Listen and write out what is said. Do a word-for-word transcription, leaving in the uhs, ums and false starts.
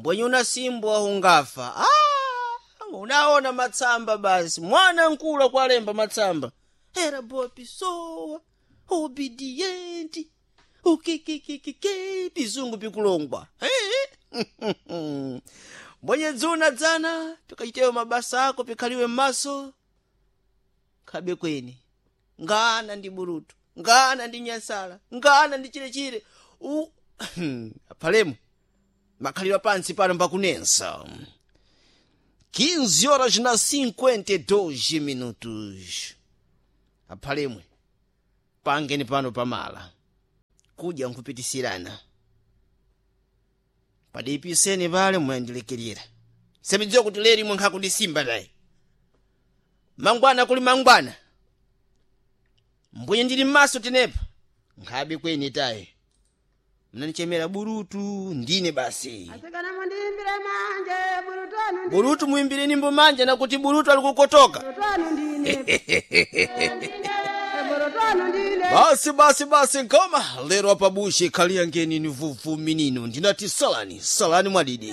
Mbwenye unasimbwa ungafa. Ah, unaona matsamba basi mwana nkulu kwalemba matsamba era boa pessoa obediente ukikikikike pizungu pikulongwa. Eh? Mbwenye dzuna dzana pikachitewo mabasa ako pikhaliwe m'maso khabe kweni ngana ndi burutu ngana ndi nyasala ngana ndi chilechile u aphalemo makhalidwe pansi pano mbakunensa. quinze horas na cinquenta e dois minutos aphalemwe pangeni pano pamala kudya nkupitisirana padipiseni pale muyandilekelera semidziwa kuti leri imwe nkhakundisimba tayi mangwana kuli mangwana mbwenye ndili m'maso tenepa nkhabe kweni tayi mnanichemera burutu ndine basi. Asikana mundiimbire manje burutu anu ndi Burutu muimbire nyimbo manja nakuti burutu alikukotoka. Burutu anu ndine burutu anu ndine. Basi basi basi nkoma lero apabushe khalia ngeni ni vuvu minino ndinati salani salani mwadidi.